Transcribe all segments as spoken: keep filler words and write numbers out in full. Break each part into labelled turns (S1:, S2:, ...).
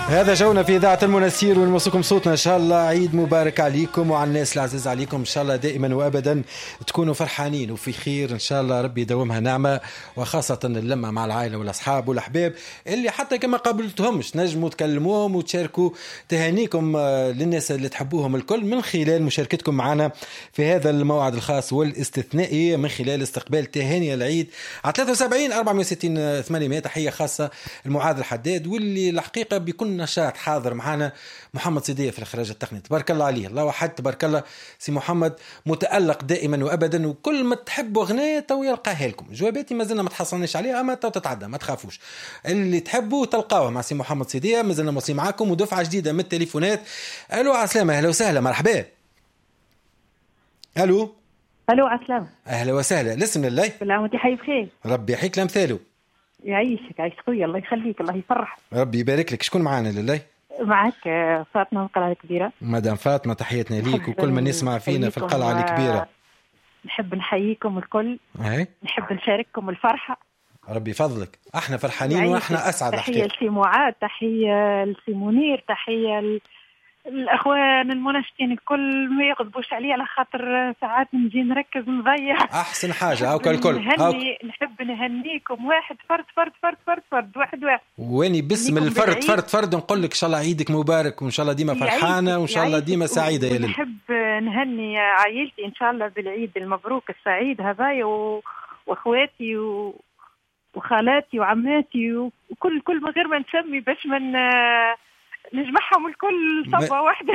S1: هذا جونا في إذاعة المنستير ونوصلكم صوتنا. إن شاء الله عيد مبارك عليكم وعلى الناس العزيز عليكم، إن شاء الله دائما وأبدا تكونوا فرحانين وفي خير إن شاء الله، ربي يدومها نعمة، وخاصة اللمة مع العائلة والأصحاب والأحباب اللي حتى كما قابلتهمش نجموا تكلموهم وتشاركوا تهانيكم للناس اللي تحبوهم الكل من خلال مشاركتكم معنا في هذا الموعد الخاص والاستثنائي من خلال استقبال تهاني العيد على ثلاثة وسبعين أربعمية وستين ثمانمية. تحية خاصة المعاذ الحداد واللي الحقيقة بكل نشاط حاضر معنا محمد صديق في الإخراج التقني، تبارك الله عليه، الله وحد تبارك الله سي محمد متألق دائما وأبدا، وكل ما تحبوا أغنية تو يلقاها لكم. جواباتي ما زلنا ما تحصلناش عليها، أما تو تتعدى ما تخافوش، اللي تحبوا تلقاوه مع سي محمد صديق. ما زلنا موصي معاكم ودفعة جديدة من التليفونات. ألو عسلامة، أهلا وسهلا، مرحبا. ألو
S2: ألو عسلامة،
S1: أهلا وسهلا، لسم لله
S2: كل عام وأنت حي بخير،
S1: ربي يحييك لأمثاله.
S2: يعيشك عايش خويا، الله يخليك، الله يفرح،
S1: ربي يبارك لك. شكون معانا لله؟
S2: معك فاطمة من القلعة الكبيرة.
S1: مدام فاطمة تحياتنا ليك وكل من يسمع فينا في القلعة الكبيرة.
S2: نحب نحييكم الكل،
S1: هاي.
S2: نحب نشارككم الفرحة،
S1: ربي يفضلك، احنا فرحانين واحنا اسعد.
S2: تحية لسي معاد، تحية لسي منير، تحية ل... الاخوان المناشدين الكل، ما يغضبوش علي على خاطر ساعات نجي نركز نضيع.
S1: احسن حاجة هاكا الكل
S2: نهني، نحب نهنيكم واحد فرد فرد فرد فرد فرد واحد واحد،
S1: واني باسم الفرد فرد فرد نقول لك ان شاء الله عيدك مبارك، وان شاء الله ديما فرحانة، وان شاء الله ديما سعيدة يا ليلى.
S2: نحب نهني عائلتي ان شاء الله بالعيد المبروك السعيد هذايا، و... واخواتي و... وخالاتي وعماتي وكل كل من غير ما نسمي باش من نجمعهم الكل صبة واحدة.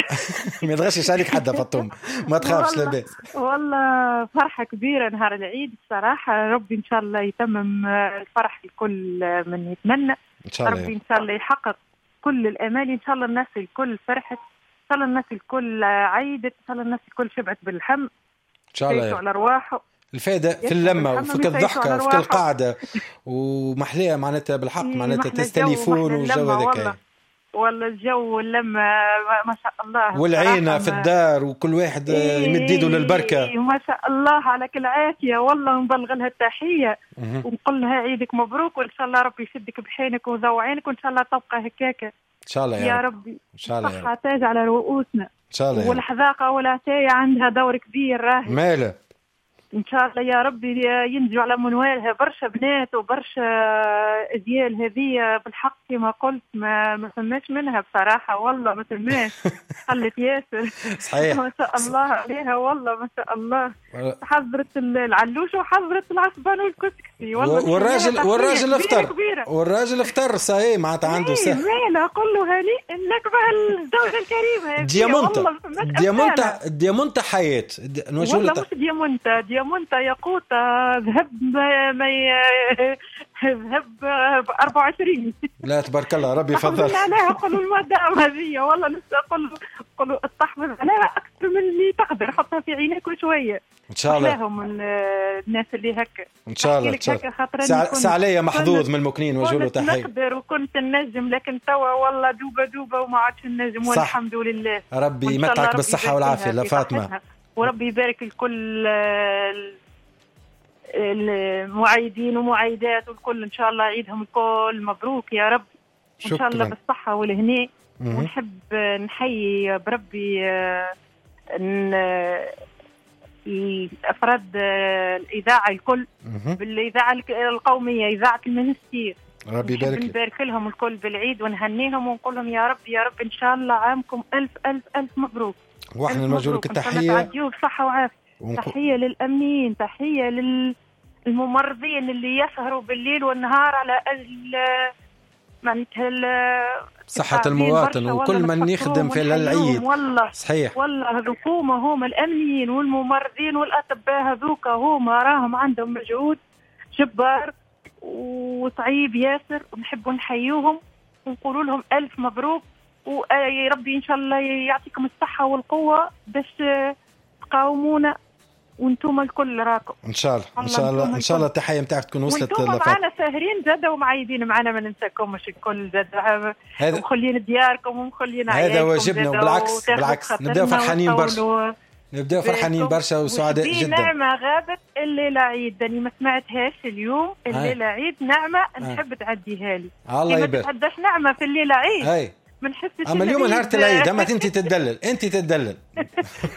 S1: ما يتغشش عليك حدا فطوم، ما تخافش لاباس.
S2: والله فرحة كبيرة نهار العيد الصراحة، ربي إن شاء الله يتمم الفرح الكل من يتمنى،
S1: إن شاء الله
S2: ربي إن شاء الله يحقق كل الأمال، إن شاء الله الناس الكل فرحت، إن شاء الله الناس الكل عيدت، إن شاء الله الناس الكل شبعت باللحم،
S1: إن شاء الله
S2: على أرواحه.
S1: الفائدة في اللمة وفي الضحكة وفي القعدة ومحلية معناتها بالحق، معناتها تستليفون والجو هذاك
S2: والله الجو واللمة ما شاء الله،
S1: والعينة في الدار وكل واحد يمد يده للبركة،
S2: ما شاء الله على كل عافية. والله نبلغ لها التحية ونقول لها عيدك مبروك، وإن شاء الله ربي يشدك بحينك وذو عينك، وإن شاء الله تبقى هكاكة
S1: إن شاء الله يا,
S2: يا ربي،
S1: إن شاء الله
S2: الصحة تاج على رؤوسنا
S1: إن شاء الله،
S2: والحذاقة والعتاية عندها دور كبير راهي
S1: ماله
S2: إن شاء الله يا ربي ينجو على منوالها برشا بنات وبرشا أجيال هذه بالحق كما قلت ما ما فماش منها بصراحة، والله ما فماش، خلت ياسر.
S1: صحيح
S2: ما شاء الله عليها، والله ما شاء الله، حضرت العلوش وحضرت العصبان والكسكسي والله،
S1: والراجل والراجل افطر، والراجل افطر صحيح معناتها عنده سهل.
S2: مالا قل له هنيئا لك بهالزوجة الكريمة
S1: ديامونتا، ديامونتا ديامونتا حياة،
S2: والله مش ديامونتا، ديامونتا ياقوتة ذهب ما ذهب ب أربعة وعشرين.
S1: لا تبارك الله ربي يفضل.
S2: لا لا قولوا المدام هذه والله قولوا قولوا استحفظ عليها أكثر من اللي تقدر، حطها في عينك شوية.
S1: إن شاء الله.
S2: لهم الناس اللي هكا.
S1: إن شاء الله. سعلية محظوظ من المكنين وجوله تحية.
S2: نقدر وكنت النجم، لكن توا والله دوبة دوبة وما عادش النجم، والحمد لله.
S1: ربي يمتعك بالصحة والعافية لا فاطمة.
S2: وربي يبارك لكل المعايدين ومعايدات والكل، إن شاء الله عيدهم الكل مبروك يا رب، إن شاء الله بالصحة والهناء. ونحب نحيي بربي الأفراد الإذاعة الكل، بالإذاعة القومية إذاعة المنستير،
S1: ربي يبارك
S2: نبارك لهم الكل بالعيد ونهنيهم ونقول لهم يا رب يا رب إن شاء الله عامكم ألف ألف ألف مبروك.
S1: واحنا نوجه لك التحية،
S2: تعديوه بصحة وعافية. ونقو... تحية للأمنيين، تحية للممرضين اللي يسهروا بالليل والنهار على أجل معناتها
S1: صحة المواطن وكل من يخدم في العيد.
S2: والله
S1: صحيح،
S2: والله هذوكوما هما الأمنيين والممرضين والأطباء، هذوك هما راهم عندهم مجهود جبار وصعيب ياسر، ونحبوا نحيوهم ونقولوا لهم ألف مبروك، ويا ربي إن شاء الله يعطيكم الصحة والقوة باش تقاومونا وانتم الكل راكم
S1: إن شاء الله. إن شاء الله إن شاء الله التحية متاعك تكون وصلت
S2: وانتم معنا ساهرين زادة ومعايدين معنا، ما ننساكمش الكل زادة، ومخلين دياركم ومخلين عيالكم،
S1: هذا واجبنا. وبالعكس بالعكس نبداو فرحانين برشا، نبداو فرحانين برشا وسعداء جدا.
S2: نعمة غابت الليلة عيد، أنا ما سمعتهاش اليوم الليلة عيد، نعمة نحب تعديها لي.
S1: الله يبارك.
S2: ما تتعداش نعمة في الليلة عيد.
S1: هاي.
S2: ما نحسش.
S1: اما اليوم نهار العيد، اما انت تدلل، انت تدلل.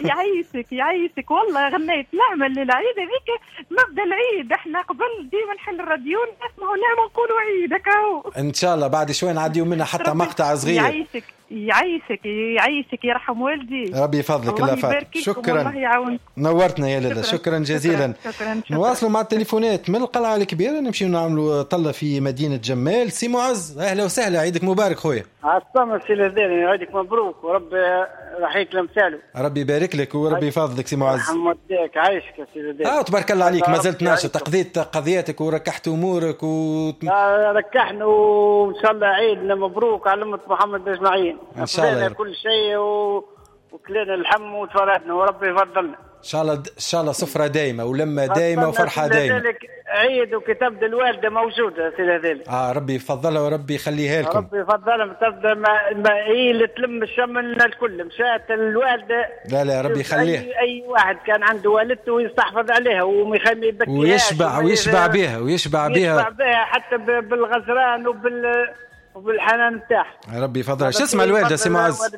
S2: يعيشك يعيشك والله غنيت نعمه للعيد هذيك، مبدا العيد احنا قبل ديما نحل الراديو نسمعوا نعمه نقولوا عيد هكا.
S1: ان شاء الله بعد شوي نعديو منها حتى مقطع صغير.
S2: يعيشك يعيشك يعيشك يرحم والدي،
S1: ربي يفضلك. الله فاتك، شكرا،
S2: الله يعاونك،
S1: نورتنا يا لاله، شكرا, شكرا جزيلا.
S2: شكرا شكرا.
S1: نواصلوا مع التليفونات من القلعة الكبيرة، نمشيو نعملوا طله في مدينة جمال. سي معز، اهلا وسهلا، عيدك مبارك خويا.
S3: عالسلامة سي الهداني، عيدك مبروك وربي رحيك لمثاله.
S1: ربي يبارك لك وربي يفضلك سي معز.
S3: يرحم والديك، عايشك يا سي الهداني.
S1: اه تبارك الله عليك، ما زلت ناشط، قضيت قضيتك وركحت امورك و
S3: آه ركحنا، وان شاء الله عيدنا مبروك على امه محمد اجمعين.
S1: ان شاء الله
S3: كل شيء و... وكلنا اللحم وتفرحنا وربي يفضلنا
S1: ان شاء الله. ان شاء الله سفره دايمه ولمه دايمه وفرحه دايمه.
S3: ذلك عيد وكتبدا الوالدة موجودة سي ذلك.
S1: اه ربي يفضلها وربي يخليها لكم.
S3: ربي يفضلها، تبدا ما, ما هي اللي تلم الشمل الكل، مشات الوالدة.
S1: لا لا ربي يخليها.
S3: اي, أي واحد كان عنده والدته يستحفظ عليها وما يبكيهاش
S1: ويشبع ويشبع بها ويشبع بها
S3: ويشبع بها حتى بالغزران وبال وبالحنان نتاعها.
S1: ربي يفضلها. شو اسمها الوالدة سي معز؟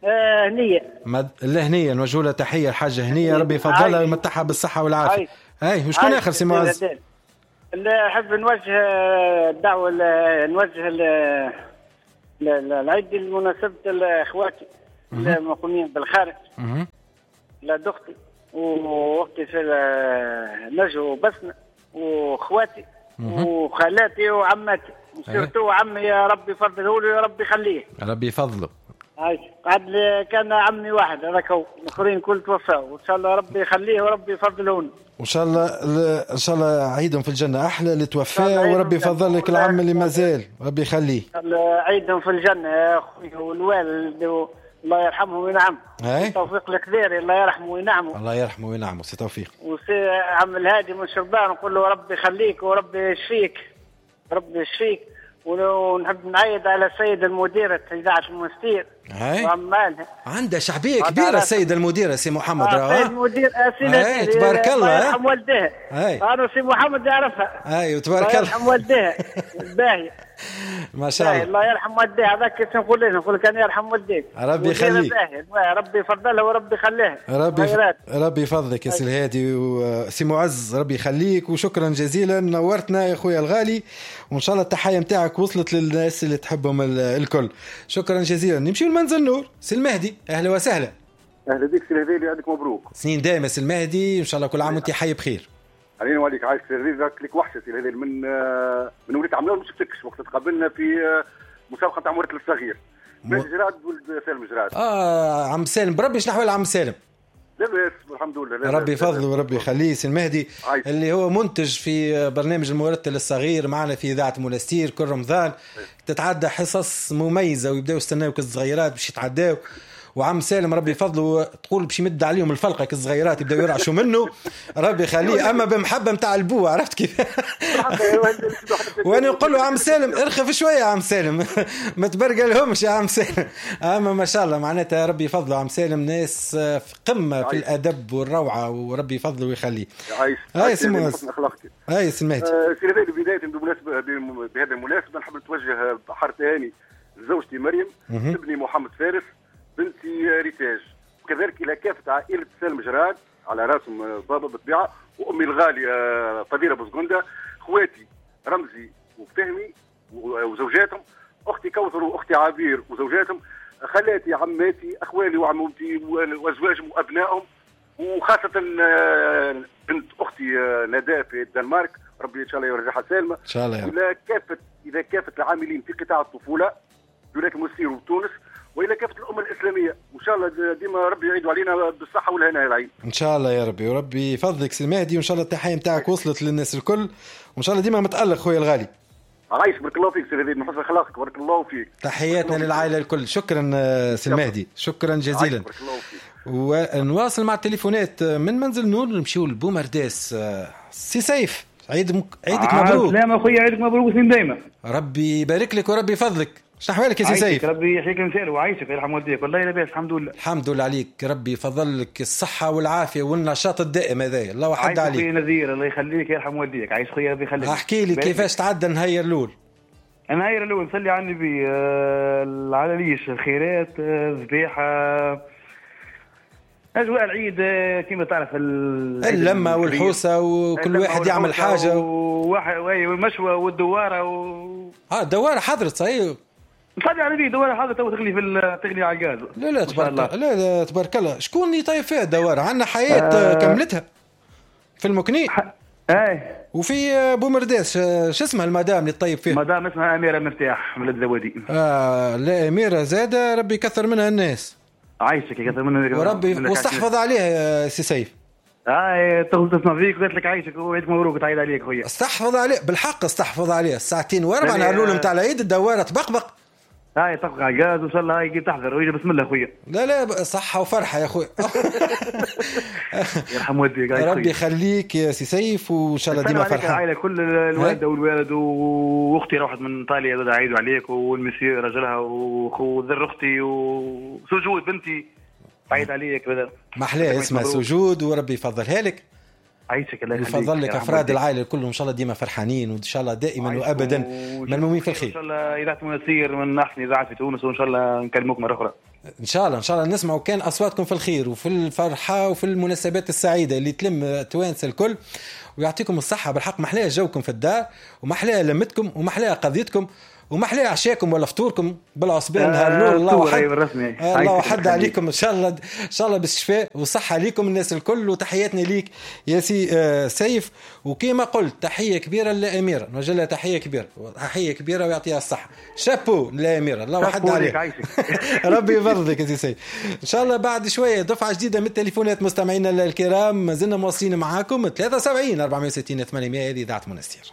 S3: آه هنيه.
S1: مد... لا هنيه، نوجه لها تحية الحاجة هنيه، ربي يفضلها ويمتعها بالصحة والعافية. اي وشكون اخر سي معز؟
S3: اللي احب نوجه الدعوة، نوجه العيد لمناسبة اخواتي المقيمين بالخارج، لا اختي واختي في نجو بسمه واخواتي وخالاتي وعماتي، surtout عمي يا ربي يفضله لي يا ربي يخليه.
S1: ربي يفضله.
S3: عايش قعد كان عمي واحد هذاك هو، الاخرين كل توفاوا، وان شاء الله ربي يخليه وربي يفضله.
S1: وان شاء الله ان شاء الله عيدهم في الجنة احلى اللي توفاه، وربي يفضل لك العم اللي مازال، ربي يخليه.
S3: عيدهم في الجنة يا اخوي، والوالد الله يرحمه وينعم. توفيق الكبير الله يرحمه وينعمه.
S1: الله يرحمه وينعمه سي توفيق.
S3: وسي عم الهادي من شربان نقول له ربي يخليك وربي يشفيك، ربي يشفيك. ونحب نعيد على السيد المديرة إذاعة المنستير وعمالها،
S1: عندها شعبية كبيرة السيد المديرة سي محمد.
S3: آه السيد المدير
S1: آه تبارك الله،
S3: الله يرحم والديها. أنا سي محمد يعرفها.
S1: أي تبارك الله،
S3: يرحم والديها باهية
S1: ما شاء الله.
S3: الله يرحم والديها، هذاك كيف نقول له، نقول كان يرحم والديك،
S1: ربي يخليك،
S3: ربي يفضلها وربي يخليها.
S1: ربي ربي يفضلك يا سي الهادي وسي معز، ربي يخليك وشكرا جزيلا، نورتنا يا خويا الغالي، وان شاء الله التحية نتاعك وصلت للناس اللي تحبهم الكل. شكرا جزيلا. نمشيو لمنزل نور، سي المهدي، اهلا وسهلا.
S4: اهلا بك سي الهادي، عندك مبروك
S1: سنين دايمه سي المهدي، ان شاء الله كل عام وانت حي بخير.
S4: علينا وعليك. عايش سي الهادي، لك وحشة سي الهادي من من وليت عملوا ما شفتكش وقت تقابلنا في مسابقة تاع مورد الصغير. جراد ولد سالم جراد.
S1: اه عم سالم، بربي شنو احوال عم سالم؟
S4: لاباس الحمد لله،
S1: ربي يفضله وربي يخليه. سي المهدي اللي هو منتج في برنامج المرتل الصغير معنا في إذاعة منستير كل رمضان، تتعدى حصص مميزة ويبداو يستناو كالصغيرات باش يتعداو، وعم سالم ربي يفضله تقول باش يمد عليهم الفلقه كالصغيرات يبداو يرعشوا منه، ربي يخليه، اما بمحبة نتاع البو، عرفت كيف؟ وانا نقول له عم سالم ارخف شوية يا عم سالم، ما تبرقلهمش يا عم سالم. اما ما شاء الله معناتها ربي يفضله عم سالم، ناس في قمة في الادب والروعه، وربي يفضله ويخليه.
S4: هاي
S1: سي هاي سي المهدي.
S4: سي بداية بمناسبة بهذه المناسبة نحب نتوجه بحر تهاني لزوجتي مريم، ابني محمد فارس، بنتي ريتاج، وكذلك الى كافة عائلة سالم جراد على راسهم بابا بالطبيعة، وامي الغالية فضيلة بوزغنده، خواتي رمزي وفهمي وزوجاتهم، اختي كوثر واختي عبير وزوجاتهم، خالاتي عماتي اخوالي وعمومتي وازواجهم وابنائهم، وخاصة بنت اختي ندى في الدنمارك، ربي ان شاء الله يرجعها سالمه
S1: ان شاء الله يا رب.
S4: الى كافة الى كافة العاملين في قطاع الطفولة بولاية المنستير وتونس، والى كافة الامة الاسلامية، وان شاء الله ديما ربي يعيد علينا بالصحة والهناء العين
S1: ان شاء الله يا ربي. وربي يفضلك سي المهدي، وان شاء الله التحية نتاعك وصلت للناس الكل، وان شاء الله ديما متالق خويا الغالي.
S4: عايش بارك الله فيك سي المهدي، من حسن اخلاقك بارك الله فيك.
S1: تحياتنا للعائلة الكل. شكرا سي المهدي، شكرا جزيلا.
S4: بارك الله فيك.
S1: ونواصل مع التليفونات من منزل نور، نمشيو لبومرداس. سي سيف، عيد مك... عيدك مبروك.
S5: سلام اخويا، عيدك مبروك سنين دايما.
S1: ربي يبارك لك وربي يفضلك. شنو احوالك يا سي سيف؟
S5: ربي يحييك انسان وعايشك يرحم والديك. والله لاباس الحمد لله.
S1: الحمد لله عليك، ربي يفضل لك الصحة والعافية والنشاط الدائم هذايا، الله وحد عليك.
S5: عايش خويا نذير، الله يخليك يرحم والديك. عايش خويا ربي يخليك.
S1: احكي لي كيفاش تعدى نهار الاول؟
S5: النهار الاول نصلي على النبي، العلاليش، الخيرات، الذبيحة، اجواء العيد كما تعرف،
S1: اللمة والحوسه وكل واحد يعمل حاجة
S5: وواحد والمشوى والدواره و...
S1: اه الدواره حضرت صحيح.
S5: نصلي على النبي، دواره حضرت تو تغلي في تغلي على الغاز.
S1: لا لا تبارك الله، لا لا تبارك الله. شكون اللي طيب فيها الدواره؟ عندنا حياة آه كملتها في المكني
S5: ح... ايه
S1: وفي بومرداس. شو اسمها المدام اللي تطيب فيها؟
S5: مدام اسمها اميره مفتاح من الزوادي.
S1: اه لا اميره زاده ربي يكثر منها الناس.
S5: عايشك يكثر منها
S1: وربي واستحفظ عليها يا سي سيف.
S5: اه تسمع فيك قلت لك عايشك وعيدك مبروك وتعيد عليك خويا.
S1: استحفظ عليه بالحق، استحفظ عليه الساعتين واربع نهار الاول نتاع العيد الدواره تبقبق.
S5: هاي تبقى على الغاز وان شاء الله هاي تحضر ويجي بسم الله خويا.
S1: لا لا صحة وفرحه يا خويا.
S5: يرحم والديك
S1: ربي يخليك يا سي سيف وان شاء الله ديما فرحان.
S5: العائلة كل الوالدة والوالد واختي روحت من ايطاليا زاد عيدوا عليك، والمسيو راجلها وذر اختي وسجود بنتي عيد عليك. بدل
S1: ما احلاها اسمها سجود وربي يفضلها لك.
S5: عايشك الله يخليك،
S1: يفضل لك افراد العائلة كلهم ان شاء الله ديما فرحانين وان شاء الله دائما وابدا ملمومين في الخير.
S5: ان شاء الله اذاعة منسير من احسن اذاعات في تونس، وان شاء الله نكلموك مرة اخرى
S1: ان شاء الله. ان شاء الله نسمعوا كان اصواتكم في الخير وفي الفرحة وفي المناسبات السعيدة اللي تلم توانسة الكل، ويعطيكم الصحة بالحق. محلاها جوكم في الدار ومحلاها لمتكم ومحلاها قضيتكم ومحلاها عشاكم ولا فطوركم بالعصبان نهار الاول. الله وحد الله وحد عليكم ان شاء الله، ان شاء الله بالشفاء والصحة ليكم الناس الكل، وتحياتنا ليك يا سي سيف. وكما قلت تحية كبيرة للاميره، نوجه لها تحية كبيرة، تحية كبيرة ويعطيها الصحة. شابو للاميره، الله وحد عليك. ربي يفضلك يا سي سيف. ان شاء الله بعد شوية دفعه جديدة من التليفونات مستمعينا الكرام، مازلنا مواصلين معاكم ثلاثة وسبعين أربعمية وستين ثمانمية هذه اذاعة منستير.